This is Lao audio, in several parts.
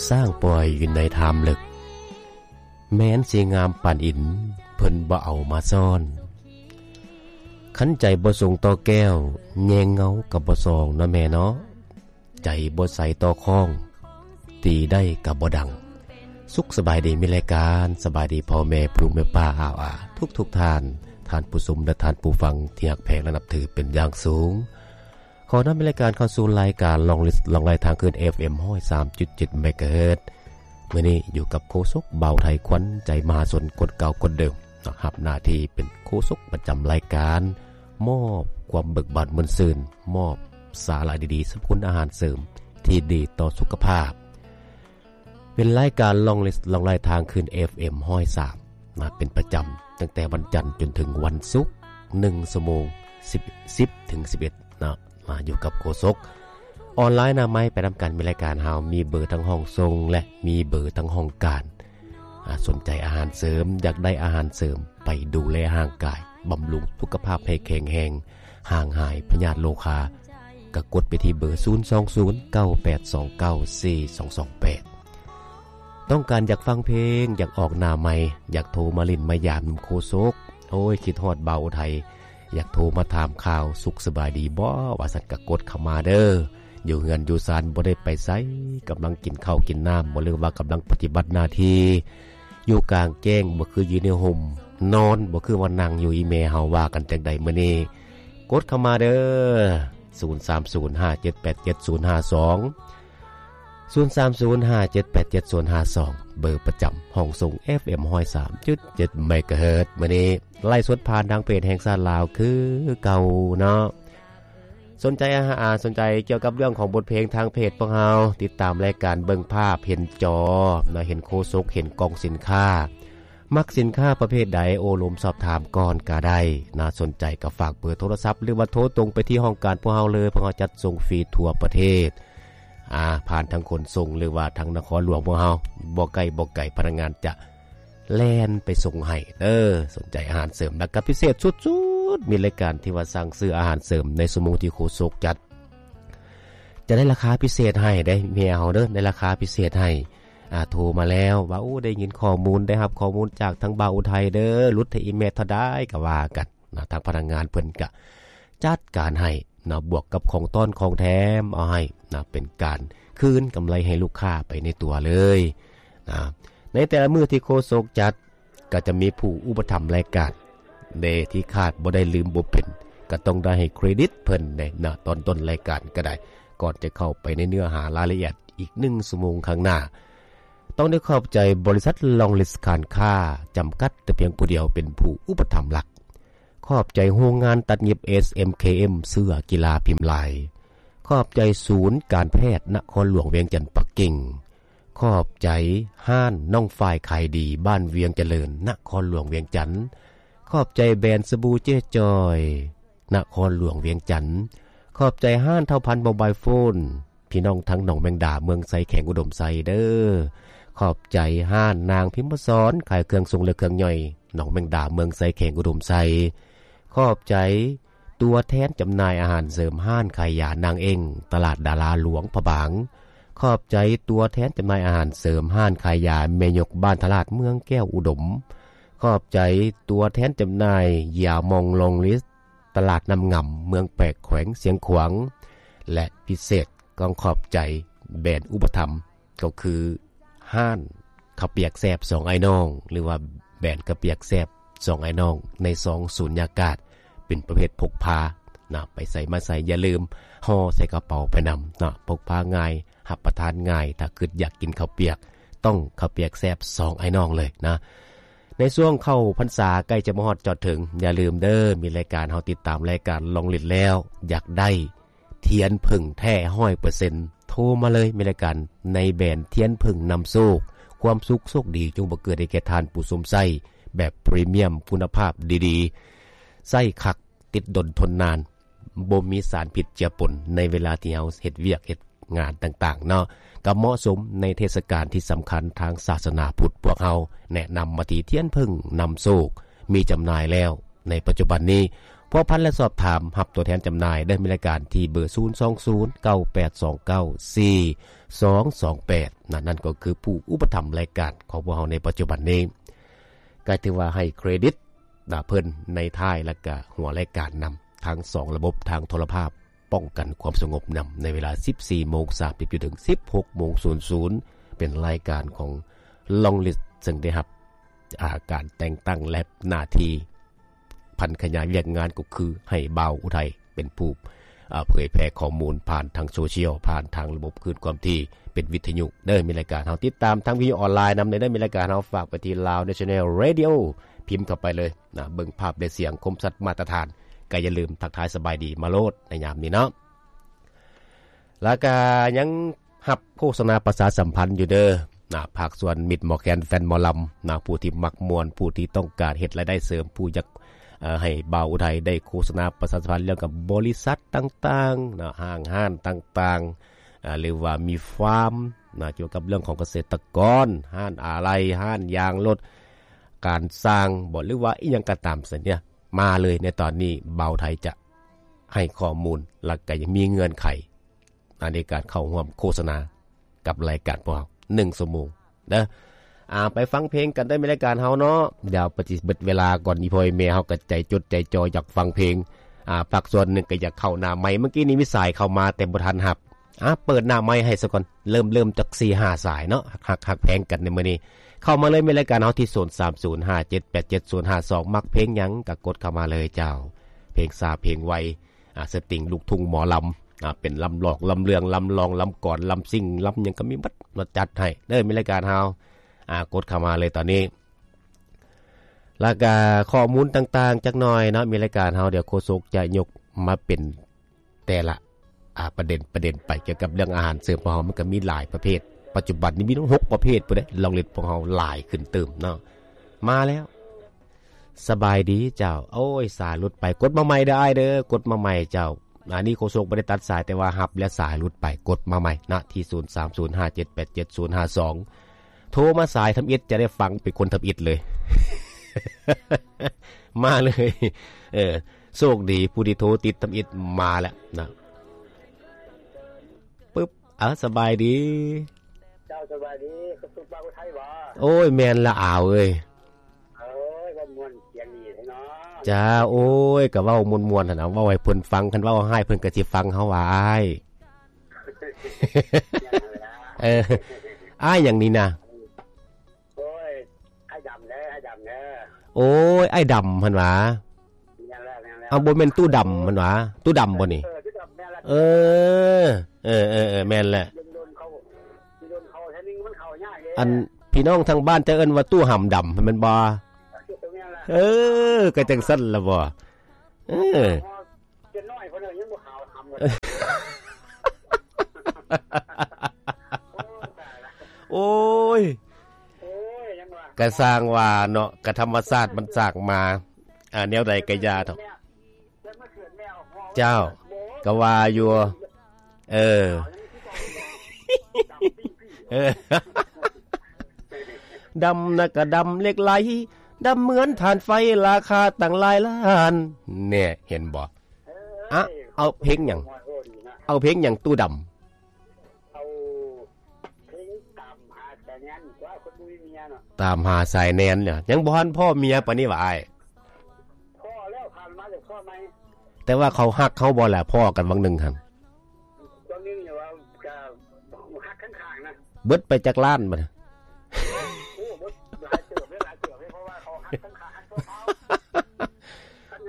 ຊ້າງປ່ອຍຢູ່ໃນຖ້ຳເລິກ ແມ່ນຊິງາມປານອິນ ເພິ່ນບໍ່ເອົາມາຊ້ອນ. ຄັນໃຈບໍ່ສົງຕໍ່ແກ້ວ ແຍງເງົາກໍບໍ່ສ່ອງເນາະແມ່ເນາະ. ໃຈບໍ່ໃສຕໍ່ຄ້ອງ ຕີໄດ້ກໍບໍ່ດັງ. ສຸກສະບາຍດີ ມີລາຍການ ສະບາຍດີພໍ່ແມ່ ຜູ້ແມ່ປ້າອາວອາ ທຸກໆທ່ານ, ທ່ານຜູ້ຊົມ ແລະ ທ່ານຜູ້ຟັງທີ່ຮັກແພງ ແລະ ນັບຖືເປັນຢ່າງສູງ. ຂໍນຳລາຍການເຂົ້າສູ່ລາຍການ Long List ລ່ອງລາຍທາງຄື້ນ ເອຟເອັມ ຮ້ອຍສາມຈຸດເຈັດ ເມກາເຮີດ. ມື້ນີ້ຢູ່ກັບໂຄສົກບ່າວໄທ ຂວັນໃຈມະຫາຊົນ ຄົນເກົ່າຄົນເດີມ ເນາະ ຮັບໜ້າທີ່ເປັນໂຄສົກປະຈຳລາຍການ, ມອບຄວາມເບີກບານມ່ວນຊື່ນ, ມອບສາລະດີໆ ສຳລັບອາຫານເສີມທີ່ດີຕໍ່ສຸຂະພາບ. ເປັນລາຍການ Long List ລ່ອງລາຍທາງຄື້ນ ເອຟເອັມ ຮ້ອຍສາມ ມາເປັນປະຈຳ ຕັ້ງແຕ່ວັນຈັນຈົນເຖິງວັນສຸກ ໜຶ່ງຊົ່ວໂມງ ສິບ ສິບເຖິງສິບເອັດ ເນາະ ມາຢູ່ກັບໂຄສົກ. ອອນລາຍໜ້າໄມ ໄປນຳກັນ ມີລາຍການເຮົາ ມີເບີທັງຫ້ອງສົ່ງ ແລະ ມີເບີທັງຫ້ອງການ. ອາ ສົນໃຈອາຫານເສີມ, ຢາກໄດ້ອາຫານເສີມ ໄປດູແລຮ່າງກາຍ, ບຳລຸງສຸຂະພາບໃຫ້ແຂງແຮງ, ຫ່າງຫາຍພະຍາດໂລຄາ, ກໍກົດໄປທີ່ເບີ ສູນສອງສູນ ເກົ້າແປດສອງເກົ້າ ສີ່ສອງສອງແປດ. ຕ້ອງການຢາກຟັງເພງ, ຢາກອອກໜ້າໄມ, ຢາກໂທມາຫຼິ້ນມາຢາມນຳໂຄສົກ, ໂອ້ຍ ຄິດຮອດບ່າວອຸໄທ, ຢາກໂທມາຖາມຂ່າວ ສຸກສະບາຍດີບໍ່ ວ່າຊັ້ນ ກໍກົດເຂົ້າມາເດີ້. ຢູ່ເຮືອນຢູ່ຊານບໍ່ໄດ້ໄປໃສ, ກຳລັງກິນເຂົ້າກິນນ້ຳບໍ່ ຫຼືວ່າກຳລັງປະຕິບັດໜ້າທີ່, ຢູ່ກາງແຈ້ງບໍ່ຄືຢູ່ໃນຮົ່ມ, ນອນບໍ່ຄືວ່ານັ່ງຢູ່. ອີແມ່ເຮົາວ່າກັນຈັ່ງໃດມື້ນີ້? ກົດເຂົ້າມາເດີ້ ສູນສາມສູນ ຫ້າເຈັດແປດເຈັດ ສູນຫ້າສອງ ສູນສາມສູນ ຫ້າເຈັດແປດເຈັດ ສູນຫ້າສອງ ເບີປະຈຳຫ້ອງສົ່ງ ເອຟເອັມ ຮ້ອຍສາມຈຸດເຈັດ ເມກາເຮີດ. ມື້ນີ້ໄລຟ໌ສົດຜ່ານທາງເພຈແຫ່ງຊາດລາວຄືເກົ່າເນາະ. ສົນໃຈອາຫານ, ສົນໃຈກ່ຽວກັບເລື່ອງຂອງບົດເພງທາງເພຈພວກເຮົາ, ຕິດຕາມລາຍການ, ເບິ່ງພາບເຫັນຈໍເນາະ, ເຫັນໂຄສົກ, ເຫັນກ່ອງສິນຄ້າ. ມັກສິນຄ້າປະເພດໃດ ໂອ້ລົມສອບຖາມກ່ອນກໍໄດ້ນະ. ສົນໃຈກໍຝາກເບີໂທລະສັບ ຫຼືວ່າໂທຕົງໄປທີ່ຫ້ອງການພວກເຮົາເລີຍ, ພວກເຮົາຈັດສົ່ງຟຣີທົ່ວປະເທດ. ອາ ຜ່ານທາງຂົນສົ່ງ ຫຼືວ່າທາງນະຄອນຫຼວງພວກເຮົາ, ບໍ່ໃກ້ບໍ່ໄກ ພະນັກງານຈະແລ່ນໄປສົ່ງໃຫ້ເດີ້. ສົນໃຈອາຫານເສີມ ແລ້ວກໍພິເສດສຸດໆ ມີລາຍການທີ່ວ່າສັ່ງຊື້ອາຫານເສີມໃນຊົ່ວໂມງທີ່ໂຄສົກຈັດ ຈະໄດ້ລາຄາພິເສດໃຫ້ເດ້ ເມຍເຮົາເດີ້ ໄດ້ລາຄາພິເສດໃຫ້. ອາ ໂທມາແລ້ວວ່າ ໂອ້ ໄດ້ຍິນຂໍ້ມູນ ໄດ້ຮັບຂໍ້ມູນຈາກທາງບ່າວອຸໄທເດີ້ ຫຼຸດໃຫ້ອີ່ແມ່ເທົ່າໃດກໍວ່າກັນນະ. ທາງພະນັກງານເພິ່ນກະຈັດການໃຫ້ນະ, ບວກກັບຂອງຕ້ອນຂອງແຖມເອົາໃຫ້ນະ, ເປັນການຄືນກຳໄລໃຫ້ລູກຄ້າໄປໃນຕົວເລີຍນະ. ໃນແຕ່ລະມື້ທີ່ໂຄສົກຈັດ ກໍຈະມີຜູ້ອຸປະຖຳລາຍການເດ້ ທີ່ຂາດບໍ່ໄດ້ ລືມບໍ່ເປັນ, ກໍຕ້ອງໄດ້ໃຫ້ເຄຣດິດເພິ່ນເດ້ເນາະ ຕອນຕົ້ນລາຍການກໍໄດ້. ກ່ອນຈະເຂົ້າໄປໃນເນື້ອຫາລາຍລະອຽດອີກໜຶ່ງຊົ່ວໂມງຂ້າງໜ້າ, ຕ້ອງໄດ້ຂອບໃຈບໍລິສັດ Long List ການຄ້າຈຳກັດ ແຕ່ພຽງຜູ້ດຽວເປັນຜູ້ອຸປະຖຳຫຼັກ. ຂອບໃຈໂຮງງານຕັດຫຍິບ ເອສເອັມເຄເອັມ ເສື້ອກິລາພິມລາຍ. ຂອບໃຈສູນການແພດນະຄອນຫຼວງວຽງຈັນປັກກິ່ງ. ຂອບໃຈຮ້ານນ້ອງຝ້າຍຂາຍດີ ບ້ານວຽງຈະເລີນ ນະຄອນຫຼວງວຽງຈັນ. ຂອບໃຈແບຣນສະບູເຈ້ຈອຍ ນະຄອນຫຼວງວຽງຈັນ. ຂອບໃຈຮ້ານທ້າວພັນໂມບາຍໂຟນ ພີ່ນ້ອງທັງໜອງແມງດາ ເມືອງໄຊ ແຂວງອຸດົມໄຊເດີ້. ຂອບໃຈຮ້ານນາງພິມມະສອນ ຂາຍເຄື່ອງຊົງ ແລະ ເຄື່ອງຍ່ອຍ ໜອງແມງດາ ເມືອງໄຊ ແຂວງອຸດົມໄຊ. ຂອບໃຈ ຕົວແທນຈຳໜ່າຍອາຫານເສີມ ຮ້ານຂາຍຢານາງເອັ້ງ ຕະຫຼາດດາລາຫຼວງພະບາງ. ຂອບໃຈຕົວແທນຈຳໜ່າຍອາຫານເສີມ ຮ້ານຂາຍຢາແມ່ຍົກ ບ້ານທະລາດ ເມືອງແກ້ວອຸດົມ. ຂອບໃຈຕົວແທນຈຳໜ່າຍຢາມອງ Long List ຕະຫຼາດນ້ຳງຳ ເມືອງແປກ ແຂວງຊຽງຂວາງ ແລະ ພິເສດ ຕ້ອງຂອບໃຈແບຣນອຸປະຖຳ ກໍຄືຮ້ານເຂົ້າປຽກແຊບສອງອ້າຍນ້ອງ ຫຼືວ່າແບຣນເຂົ້າປຽກແຊບສອງອ້າຍນ້ອງ ໃນຊອງສຸນຍາກາດ ເປັນປະເພດພົກພານະ ໄປໃສມາໃສ ຢ່າລືມຫໍ່ໃສ່ກະເປົາໄປນຳນະ, ພົກພາງ່າຍ ຮັບປະທານງ່າຍ. ຖ້າຄິດຢາກກິນເຂົ້າປຽກ ຕ້ອງເຂົ້າປຽກແຊບສອງອ້າຍນ້ອງເລີຍນະ. ໃນຊ່ວງເຂົ້າພັນສາໃກ້ຈະມາຮອດຈອດເຖິງ, ຢ່າລືມເດີ້ ມີລາຍການ ເຮົາຕິດຕາມລາຍການ Long List ແລ້ວ ຢາກໄດ້ ທຽນເຜິ້ງແທ້ຮ້ອຍເປີເຊັນ ໂທມາເລີຍ, ມີລາຍການໃນແບຣນທຽນເຜິ້ງນຳໂຊກ, ຄວາມສຸກໂຊກດີຈົ່ງບັງເກີດໃຫ້ແກ່ທ່ານຜູ້ຊົມໃຊ້, ແບບພຣີມຽມຄຸນນະພາບດີໆ, ໃຊ້ຄັກ, ຕິດດົນທົນນານ, ບໍ່ມີສານພິດເຈືອປົນໃນເວລາທີ່ເຮົາເຮັດວຽກເຮັດງານຕ່າງໆເນາະ, ກໍເໝາະສົມໃນເທດສະການທີ່ສຳຄັນທາງສາສະໜາພຸດ. ພວກເຮົາແນະນຳມາທີ່ທຽນເຜິ້ງນຳໂຊກ, ມີຈຳໜ່າຍແລ້ວ ໃນປັດຈຸບັນນີ້. ພ ພົວພັນ ແລະ ສອບຖາມຮັບຕົວແທນຈຳໜ່າຍເດີ ມີລາຍການທີ່ເບີ ສູນສອງສູນ ເກົ້າແປດສອງເກົ້າ ສີ່ສອງສອງແປດ ນັ້ນ ນັ້ນກໍຄືຜູ້ອຸປະຖຳລາຍການຂອງພວກເຮົາໃນປັດຈຸບັນນີ້. ກໍຖືວ່າໃຫ້ເຄຣດິດນະເພິ່ນໃນທ້າຍ ແລ້ວກະຫົວລາຍການນຳ ທັງສອງລະບົບທາງໂທລະພາບ ປ້ອງກັນຄວາມສະຫງົບນຳ ໃນເວລາສິບສີ່ໂມງສາມສິບ ຈົນເຖິງສິບຫົກໂມງສູນສູນ ເປັນລາຍການຂອງ Long List ເຊິ່ງໄດ້ຮັບ ອາ ການແຕ່ງຕັ້ງ ແລະ ໜ້າທີ່ຜັນຂະຫຍາຍວຽກງານ ກໍຄືໃຫ້ບ່າວອຸໄທເປັນຜູ້ ອາ ເຜີຍແຜ່ຂໍ້ມູນຜ່ານທາງໂຊຊຽວ ຜ່ານທາງລະບົບຄື້ນຄວາມຖີ່ ເປັນວິທະຍຸເດີ ມີລາຍການເຮົາ ຕິດຕາມທາງວິທະຍຸອອນລາຍນຳເດີ ມີລາຍການເຮົາ ຝາກໄປທີ່ Lao National Radio ພິມເຂົ້າໄປເລີຍນະ ເບິ່ງພາບແລະສຽງຄົມຊັດມາດຕະຖານ ກໍຢ່າລືມທັກທາຍສະບາຍດີມາໂລດໃນຍາມນີ້ເນາະ ແລ້ວກະຍັງຮັບໂຄສະນາປະຊາສຳພັນຢູ່ເດີນະ ພາກສ່ວນມິດໝໍແຄນ ແຟນໝໍລຳນະ ຜູ້ທີ່ມັກມ່ວນ ຜູ້ທີ່ຕ້ອງການເຮັດລາຍໄດ້ເສີມ ຜູ້ຢາກ ເອີ ໃຫ້ບ່າວອຸໄທໄດ້ໂຄສະນາປະຊາສຳພັນ ແລ້ວກັບບໍລິສັດຕ່າງໆນະ ຫ້າງຮ້ານຕ່າງໆ ອາ ຫຼືວ່າມີຟາມນະ ກ່ຽວກັບເລື່ອງຂອງກະເສດຕະກອນ ຮ້ານອາໄຫຼ່ ຮ້ານຢາງລົດ ການສ້າງບໍ ຫຼືວ່າອີ່ຫຍັງກໍຕາມຊັ້ນເນຍ ມາເລີຍໃນຕອນນີ້ ບ່າວໄທຈະໃຫ້ຂໍ້ມູນ ແລ້ວກໍຍັງມີເງື່ອນໄຂ ໃນການເຂົ້າຮ່ວມໂຄສະນາກັບລາຍການພວກເຮົາ ໜຶ່ງຊົ່ວໂມງເດີ. ອາ ໄປຟັງເພງກັນເດີ ມີລາຍການເຮົາເນາະ ດຽວປະຕິເບິດເວລາກ່ອນ ອີ່ພໍ່ອີ່ແມ່ເຮົາກໍໃຈຈົດໃຈຈໍຢາກຟັງເພງ ອາ ພາກສ່ວນໜຶ່ງກໍຢາກເຂົ້າໜ້າໄມ ເມື່ອກີ້ນີ້ມີສາຍເຂົ້າມາແຕ່ບໍ່ທັນຮັບ ອາ ເປີດໜ້າໄມໃຫ້ຊະກ່ອນ ເລີ່ມ ເລີ່ມຈັກສີ່ຫ້າສາຍເນາະ ຮັກ ຮັກແພງກັນໃນມື້ນີ້ ເຂົ້າມາເລີຍ ມີລາຍການເຮົາທີ່ ສູນສາມສູນຫ້າເຈັດແປດເຈັດສູນຫ້າສອງ ມັກເພງຫຍັງກໍກົດເຂົ້າມາເລີຍເຈົ້າ ເພງຊ້າເພງໄວ ອາ ສະຕິງ ລູກທຸ່ງ ໝໍລຳ ອາ ເປັນລຳຫຼອກ ລຳເລື່ອງ ລຳລອງ ລຳກອນ ລຳຊິ່ງ ລຳຫຍັງກໍມີໝົດ ມາຈັດໃຫ້ເດີ ມີລາຍການເຮົາ ອາ ກົດເຂົ້າມາເລີຍຕອນນີ້ ແລ້ວກະຂໍ້ມູນຕ່າງໆຈັກໜ່ອຍເນາະ ມີລາຍການເຮົາ ດຽວໂຄສົກຈະຍົກມາເປັນແຕ່ລະ ອາ ປະເດັນ ປະເດັນໄປ ກ່ຽວກັບເລື່ອງອາຫານເສີມຂອງເຮົາ ມັນກໍມີຫຼາຍປະເພດ ປັດຈຸບັນນີ້ມີທັງຫົກປະເພດພຸ້ນເດ້ ລອງເລັດພວກເຮົາຫຼາຍຂຶ້ນຕື່ມເນາະ ມາແລ້ວ ສະບາຍດີເຈົ້າ ໂອ້ຍ ສາຍຫຼຸດໄປ ກົດມາໃໝ່ເດີອ້າຍເດີ ກົດມາໃໝ່ເຈົ້າ ອັນນີ້ໂຄສົກບໍ່ໄດ້ຕັດສາຍ ແຕ່ວ່າຮັບແລ້ວສາຍຫຼຸດໄປ ກົດມາໃໝ່ນະ ທີ່ ສູນສາມສູນຫ້າເຈັດແປດເຈັດສູນຫ້າສອງ ໂທມາສາຍທຳອິດ ຈະໄດ້ຟັງເປັນຄົນທຳອິດເລີຍ ມາເລີຍ ເອີ ໂຊກດີຜູ້ທີ່ໂທຕິດທຳອິດມາແລ້ວນະ ປຶບ ເອົາ ສະບາຍດີ ເຈົ້າ ສະບາຍດີ ຄືເປັນບ່າວໄທບໍ? ໂອ້ຍ ແມ່ນລະອາວເອີຍ ໂອ້ຍ ເວົ້າມ່ວນສຽງດີແທ້ເນາະ ຈ້າ ໂອ້ຍ ກະເວົ້າມ່ວນໆຫັ້ນນະ ເວົ້າໃຫ້ເພິ່ນຟັງ ຄັນເວົ້າຮ້າຍເພິ່ນກະຊິຟັງເຮົາວ່າອ້າຍ ເອີ ອ້າຍຫຍັງນີ້ນະ? ໂອ້ຍ ອ້າຍດຳເດີ ອ້າຍດຳເດີ ໂອ້ຍ ອ້າຍດຳຫັ້ນຫວາ? ແມ່ນແລ້ວ ແມ່ນແລ້ວ ເອົາ ບໍ່ແມ່ນຕູ້ດຳຫັ້ນຫວາ? ຕູ້ດຳບໍ່ນີ້? ເອີ ຕູ້ດຳ ແມ່ນແລ້ວ ເອີ ເອີ ເອີ ເອີ ແມ່ນແຫຼະ ດົນໆເຂົ້າ ດົນໆເຂົ້າເທື່ອໜຶ່ງມັນເຂົ້າຍາກເດ້ ອັນພີ່ນ້ອງທາງບ້ານຈະເອີ້ນວ່າຕູ້ຫຳດຳແມ່ນບໍ່? ແມ່ນແລ້ວ ເອີ ກໍຈັ່ງຊັ້ນລະບໍ່? ເອີ ເປັນນ້ອຍເພິ່ນຍັງບໍ່ຂາວຫຳເລີຍ ໂອ້ຍ ໂອ້ຍ ໂອ້ຍ ຍັງວ່າ ກະຊ່າງວ່າເນາະ ກະທຳມະຊາດມັນສ້າງມາ ອາ ແນວໃດກະຢ່າເຖາະ ເຈົ້າ ກະວ່າຢູ່ ເອີ ເອີ ດຳນະກະດຳເຫຼັກໄຫຼ ດຳເໝືອນຖ່ານໄຟ ລາຄາຕັ້ງຫຼາຍລ້ານ ແນ່ ເຫັນບໍ່? ອະ ເອົາເພງຫຍັງ? ເອົາເພງຫຍັງຕູ້ດຳ? ເອົາເພງຕາມຫາສາຍແນນ ຕົວະຄົນບໍ່ມີເມຍເນາະ ຕາມຫາສາຍແນນເນາະ ຍັງບໍ່ທັນພໍ້ເມຍປານນີ້ຫວາອ້າຍ? ພໍ້ແລ້ວ ຜ່ານມາແລ້ວ ພໍ້ໃໝ່ ແຕ່ວ່າເຂົາຮັກເຮົາບໍ່ລະ ພໍ້ກັນຫວ່າງໜຶ່ງຫັ້ນ? ຫວ່າງໜຶ່ງນີ້ວ່າກະຮັກຂ້າງໆນະ ເບິດໄປຈັກລ້ານບາດນີ້? ໂອ້ ເບິດຫຼາຍເຕີບເດ້ ຫຼາຍເຕີບເດ້ ເພາະວ່າເຂົາຮັກຂ້າງໆ ຮັກຊົ່ວຄາວ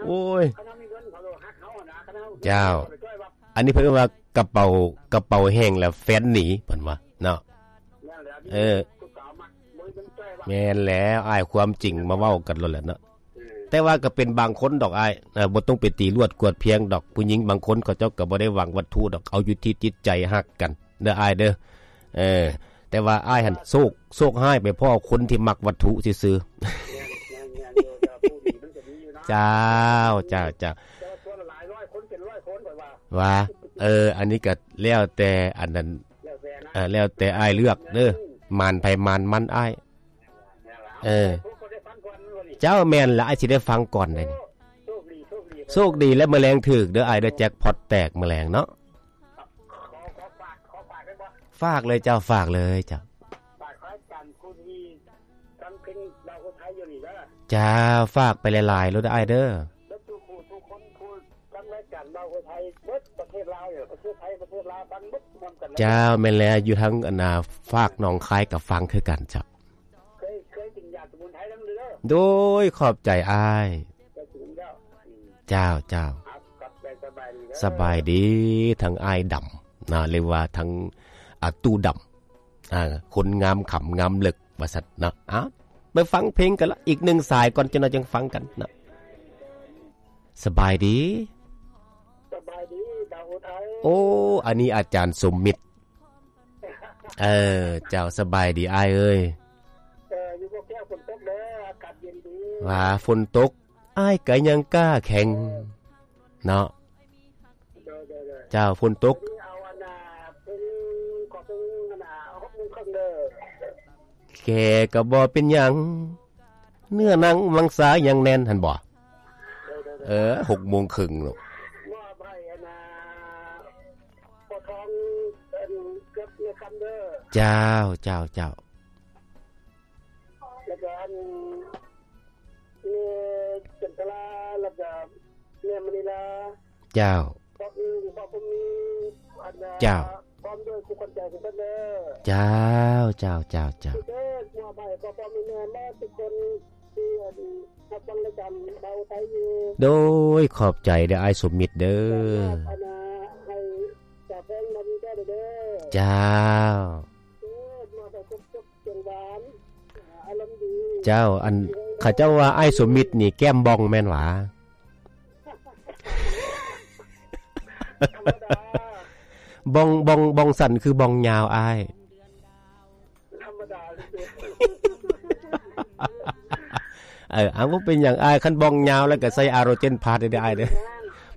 ໂອ້ຍ ຄັນເຮົາມີເງິນເຂົາກໍຮັກເຮົາຫັ້ນນະ ຄັນເຮົາ ເຈົ້າ ເຂົາໄປຈ່ອຍວ່າ ອັນນີ້ເພິ່ນເອີ້ນວ່າກະເປົາ ກະເປົາແຫ້ງແລ້ວແຟນໜີ ເພິ່ນວ່າເນາະ ແມ່ນແລ້ວ ເອີ ຜູ້ສາວມັກບໍ່ມີເງິນຈ່ອຍວ່າ ແມ່ນແລ້ວອ້າຍ ຄວາມຈິງມາເວົ້າກັນໂລດແຫຼະເນາະ ເອີ ແຕ່ວ່າກໍເປັນບາງຄົນດອກອ້າຍ ເອີ ບໍ່ຕ້ອງໄປຕີລວດກວດພຽງດອກ ຜູ້ຍິງບາງຄົນເຂົາເຈົ້າກໍບໍ່ໄດ້ຫວັງວັດຖຸດອກ ເອົາຢູ່ທີ່ຈິດໃຈຮັກກັນເດີອ້າຍເດີ ເອີ ແຕ່ວ່າອ້າຍຫັ້ນໂຊກ ໂຊກຮ້າຍໄປພໍ້ຄົນທີ່ມັກວັດຖຸຊື່ໆ ແມ່ນໆ ເຈົ້າ ເຈົ້າ ເຈົ້າ ແຕ່ວ່າສ່ວນຫຼາຍຮ້ອຍຄົນເປັນຮ້ອຍຄົນ ຂ້ອຍວ່າ ວ່າ ເອີ ອັນນີ້ກໍແລ້ວແຕ່ອັນນັ້ນ ແລ້ວແຕ່ນະ ເອີ ແລ້ວແຕ່ອ້າຍເລືອກເດີ ໝານໃຜໝານມັນອ້າຍ ແມ່ນລະ ເອີ ເຈົ້າ ແມ່ນລະ ອ້າຍຊິໄດ້ຟັງກ່ອນເດນີ້ ໂຊກດີ ໂຊກດີ ໂຊກດີ ແລະ ມື້ແລງຖືກເດີອ້າຍເດີ ແຈັກພອດແຕກມື້ແລງເນາະ. ຂໍ ຂໍຝາກ ຂໍຝາກໄດ້ບໍ່? ຝາກເລີຍເຈົ້າ ຝາກເລີຍເຈົ້າ. ຝາກໃຫ້ອາຈານຜູ້ທີ່ຟັງເພງລາວຜູ້ໄທຢູ່ນີ້ເດີ. ເຈົ້າ ຝາກໄປຫຼາຍໆໂລດເດີອ້າຍເດີ. ແລະ ທຸກຜູ້ທຸກຄົນຜູ້ຟັງລາຍການລາວຜູ້ໄທເບິດປະເທດລາວນີ້ ປະເທດໄທ ປະເທດລາວ ຟັງເບິດພ້ອມກັນ. ເຈົ້າ ແມ່ນແລ້ວ ຢູ່ທາງອັນນ່າ ຟາກໜອງຄາຍກໍຟັງຄືກັນເຈົ້າ. ເຄີຍ ເຄີຍກິນຢາສະໝຸນໄພນຳເດີ. ໂດຍ ຂອບໃຈອ້າຍ. ເຄີຍກິນແລ້ວ. ເຈົ້າ ເຈົ້າ. ຂອບໃຈ ສະບາຍດີເດີ. ສະບາຍດີ ທັງອ້າຍດຳນະ ຫຼືວ່າທັງ ອາ ຕູ້ດຳ ອາ ຄົນງາມຂຳງາມເລິກວ່າຊັ້ນເນາະ. ເອົາ ໄປຟັງເພງກັນລະ ອີກໜຶ່ງສາຍກ່ອນ ຈັກໜ້ອຍຈັ່ງຟັງກັນເນາະ. ສະບາຍດີ. ສະບາຍດີ ດາວອຸໄທ. ໂອ້ ອັນນີ້ອາຈານສົມມິດ. ເອີ ເຈົ້າ ສະບາຍດີອ້າຍເອີຍ. ເອີ ຢູ່ບໍ່ແກ້ວຝົນຕົກເດີ ອາກາດເຢັນດີ. ວ່າຝົນຕົກ ອ້າຍກະຍັງກ້າແຂງເນາະ. ໂດຍ ໂດຍ ໂດຍ. ເຈົ້າ ຝົນຕົກ ເອົາອັນນ່າ ເປັນ ຂໍເປັນອັນນ່າ ຫົກໂມງເຄິ່ງເດີ. ແກ່ກໍບໍ່ເປັນຫຍັງ ເນື້ອໜັງມັງສາຍັງແໜ້ນ ຫັ້ນບໍ່? ໂດຍ ໂດຍ ໂດຍ. ເອີ ຫົກໂມງເຄິ່ງໂລດ. ມອບໃຫ້ອັນນ່າ ພໍ່ທອງ ອັນ ກັບແມ່ຄຳເດີ. ເຈົ້າ ເຈົ້າ ເຈົ້າ. ແລ້ວກໍອັນ ແມ່ຈັນທະລາ ແລ້ວກໍແມ່ມະນີລາ. ເຈົ້າ. ພວກອື່ນ ພວກບໍ່ມີ ອັນ ເຈົ້າ ພ້ອມດ້ວຍຜູ້ຄົນໃຈທຸກຄົນເດີ. ເຈົ້າ ເຈົ້າ ເຈົ້າ ເຈົ້າ. ເດີ ມອບໃຫ້ພໍ່ໆແມ່ໆໝົດທຸກຄົນທີ່ ອັນ ຮັບຟັງລາຍການເບົາໄທຢູ່. ໂດຍ ຂອບໃຈເດີອ້າຍສົມມິດເດີ. ອັນ ໃຫ້ສາວແພງນຳໃຈເດີ. ເຈົ້າ. ເອີ ມອບໃຫ້ຄົບ ເຈົ້າ ອັນ ເຂົາເຈົ້າວ່າອ້າຍສົມມິດນີ້ແກ້ມບ່ອງແມ່ນຫວາ? ທຳມະດາ. ບ່ອງ ບ່ອງ ບ່ອງສັ້ນຄືບ່ອງຍາວອ້າຍ? ທຳມະດາ. ເອີ ເອົາ ບໍ່ເປັນຫຍັງອ້າຍ ຄັນບ່ອງຍາວແລ້ວກໍໃສ່ອາໂຣເຈນພາສໄດ້ເດີອ້າຍເດີ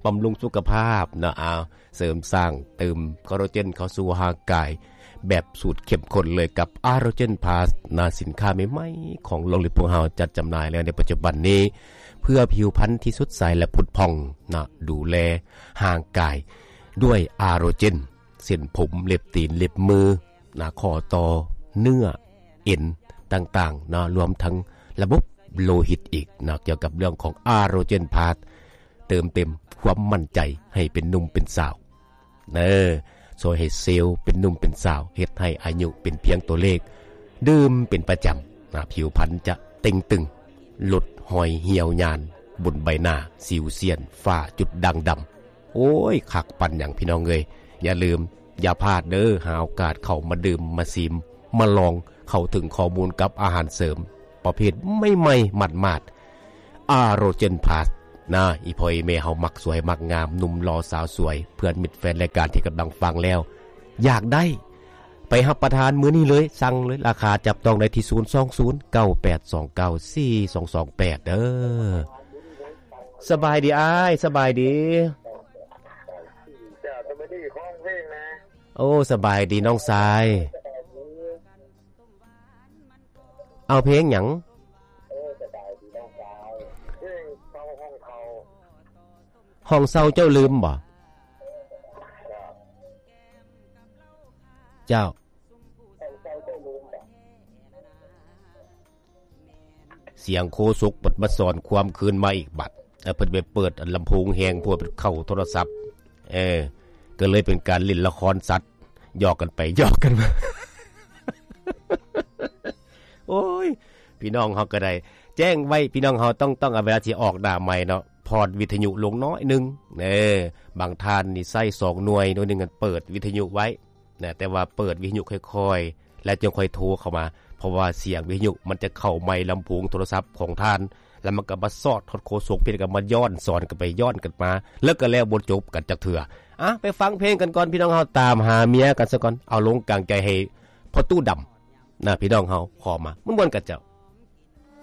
ບຳລຸງສຸຂະພາບເນາະ. ເອົາ ເສີມສ້າງເຕີມຄອລລາເຈນເຂົ້າສູ່ຮ່າງກາຍແບບສູດເຂັ້ມຂຸ້ນເລີຍກັບອາໂຣເຈນພລັສນະ. ສິນຄ້າໃໝ່ໆຂອງໂລງລິບພວກເຮົາຈັດຈຳໜ່າຍແລ້ວໃນປັດຈຸບັນນີ້ ເພື່ອຜິວພັນທີ່ສົດໃສ ແລະ ຜຸດຜ່ອງນະ. ດູແລຮ່າງກາຍດ້ວຍອາໂຣເຈນ ເສັ້ນຜົມ ເລັບຕີນ ເລັບມືນະ ຂໍ້ຕໍ່ ເນື້ອ ເອັນຕ່າງໆເນາະ ລວມທັງລະບົບໂລຫິດອີກເນາະ. ກ່ຽວກັບເລື່ອງຂອງອາໂຣເຈນພລັສ ເຕີມເຕັມຄວາມໝັ້ນໃຈໃຫ້ເປັນໜຸ່ມເປັນສາວເດີ ຊ່ວຍໃຫ້ເຊວເປັນໜຸ່ມເປັນສາວ ເຮັດໃຫ້ອາຍຸເປັນພຽງຕົວເລກ. ດື່ມເປັນປະຈຳນະ ຜິວພັນຈະເຕ່ງຕຶງ ຫຼຸດຮອຍຫ່ຽວຍານບົນໃບໜ້າ ສິວສຽນ ຝ້າ ຈຸດດ່າງດຳ. ໂອ້ຍ ຄັກປານຫຍັງພີ່ນ້ອງເອີຍ. ຢ່າລືມ ຢ່າພາດເດີ ຫາໂອກາດເຂົ້າມາດື່ມ ມາຊີມ ມາລອງ ເຂົ້າເຖິງຂໍ້ມູນກັບອາຫານເສີມປະເພດໃໝ່ໆ ໝາດໆ ອາໂຣເຈນພລັສນະ. ອີ່ພໍ່ອີ່ແມ່ເຮົາມັກສວຍມັກງາມ ໜຸ່ມຫຼໍ່ສາວສວຍ ເພື່ອນມິດແຟນລາຍການທີ່ກຳລັງຟັງແລ້ວ ຢາກໄດ້ ໄປຮັບປະທານມື້ນີ້ເລີຍ ສັ່ງເລີຍ ລາຄາຈັບຕ້ອງໄດ້ທີ່ ສູນສອງສູນ ເກົ້າແປດສອງເກົ້າ ສີ່ສອງສອງແປດ ເດີ. ສະບາຍດີອ້າຍ ສະບາຍດີ. ເຈົ້າ ສະບາຍດີ ຂໍຮ້ອງເພງແດ່. ໂອ້ ສະບາຍດີນ້ອງຊາຍ. ເອົາເພງຫຍັງ? ເພງເຊົ່າຫ້ອງເຊົ່າ. ຫ້ອງເຊົ່າເຈົ້າລືມບໍ່? ເຈົ້າ. ສຽງໂຄສົກເພິ່ນມາສອນຄວາມຄືນມາອີກບັດ ແລ້ວເພິ່ນໄປເປີດອັນລຳໂພງແຮງໂພດ ເຂົ້າໂທລະສັບ ເອີ ກໍເລີຍເປັນການຫຼິ້ນລະຄອນສັດ ຫຍອກກັນໄປຫຍອກກັນມາ. ໂອ້ຍ ພີ່ນ້ອງເຮົາກໍໄດ້ແຈ້ງໄວ້ ພີ່ນ້ອງເຮົາຕ້ອງ ຕ້ອງເອົາເວລາທີ່ອອກໜ້າໄມເນາະ ຜ່ອນວິທະຍຸລົງໜ້ອຍໜຶ່ງ ເອີ ບາງທ່ານນີ້ໃຊ້ສອງໜ່ວຍ ໜ່ວຍໜຶ່ງເປີດວິທະຍຸໄວ້ ນະ ແຕ່ວ່າເປີດວິທະຍຸຄ່ອຍໆ ແລ້ວຈຶ່ງຄ່ອຍໂທເຂົ້າມາ ເພາະວ່າສຽງວິທະຍຸມັນຈະເຂົ້າໄມລຳໂພງໂທລະສັບຂອງທ່ານ ແລ້ວມັນກໍມາສອດຮອດໂຄສົກ ເພິ່ນກໍມາຍ້ອນສອນກັນໄປຍ້ອນກັນມາ ແລ້ວກໍແລ້ວບໍ່ຈົບກັນຈັກເທື່ອ. ອະ ໄປຟັງເພງກັນກ່ອນ ພີ່ນ້ອງເຮົາ ຕາມຫາເມຍກັນສາກ່ອນ ເອົາລົງກາງໃຈໃຫ້ພໍ່ຕູ້ດຳນະ ພີ່ນ້ອງເຮົາຂໍມາມ່ວນໆກັນເຈົ້າ.